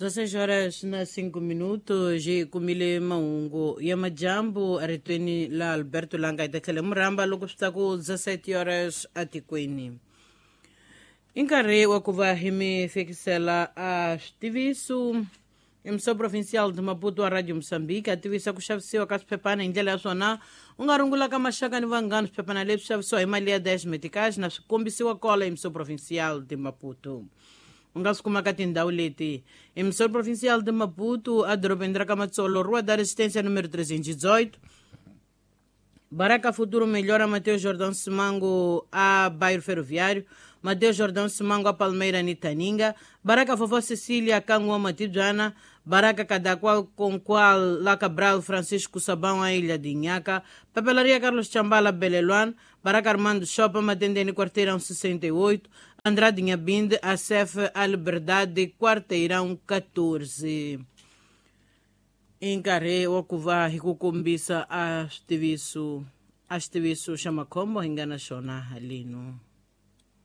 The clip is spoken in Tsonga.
16 horas na 5 minutos hi kumile mahungu ya majambu eritweni la Alberto Langa hi ta tlhela murhamba loko swi ta ku 17 horas atikweni. I nkarhi wa ku va hi mi fikisela a switiviso. Emissão Provincial de Maputo a Radio Moçambique a tivisa ku xavisiwa ka swiphephana hi ndlela ya swona. U nga rungula ka maxaka ni vanghana swiphephana leswi xavisiwa hi mali ya 10 meticais na swi kombisiwa kola Emissão Provincial de Maputo. U nga swi kuma ka tindhawu leti: Emissão Provincial de Maputo, edorobeni ra ka Matsolo, Rua da Resistência número 318, Baraka Futuro Melhora, Mateus Jordão Simango a Bairro Ferroviário, Mateus Jordão Simango a Palmeira Nitaninga, Baraka Fofó Cecília Canguama Matibjana, Baraka Cadaqual Conqual La Cabral Francisco Sabão a Ilha de Inhaca, Papelaria Carlos Chambala Beleluan, Baraka Armando Chopa Matendene Quarteirão 68, Andrade Inhabinde, ACF A Liberdade Quarteirão 14. I nkarhi wa ku va hi ku kombisa a xitiviso xa makhombo hi nga na xona haleno.